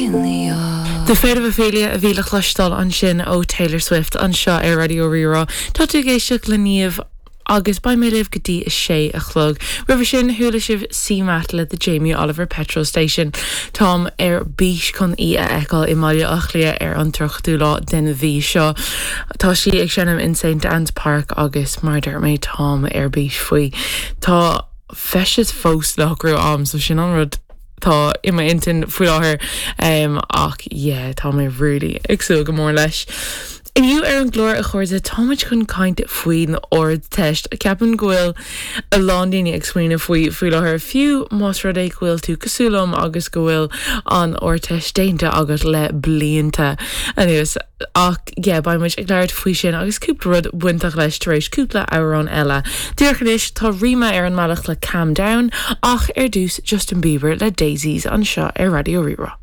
The Fate of Ophelia a bhí le cloisteáil ansin ó Taylor Swift anseo ar Raidió Rí-Rá. Tá tú ag éisteacht le Niamh agus beidh mé libh go dtí a sé a chlog. Roimhe sin, chuala sibh CMAT le The Jamie Oliver Petrol Station. Táim ar bís chun í a fheiceáil i mBaile Átha Cliath ar an 30ú lá den mhí seo. Tá sí ag seinm in St Anne's Park agus mar a deir mé táim ar bís faoi. Tá feisteas fós le socrú a'm so sin an rud atá i m'intinn faoi láthair ach yeah tá mé really ag súil go mór leis. Inniu ar an gclár a chairde táimid chun caint faoin Ardteist. Ceapaim go bhfuil a lán daoine ag smaoineamh faoi faoi láthair fiú más rud é go bhfuil tú cosúil liom agus go bhfuil an Ardteist déanta agat le blianta anuas. Ach yeah, beidh muid ag labhairt faoi sin agus cúpla rud bainteach leis tar éis cúpla amhrán eile. Díreach anois, tá Rima ar an mbealach le Calm Down, ach ar dtús Justin Bieber le Daisies anseo ar Raidió Rí-Rá.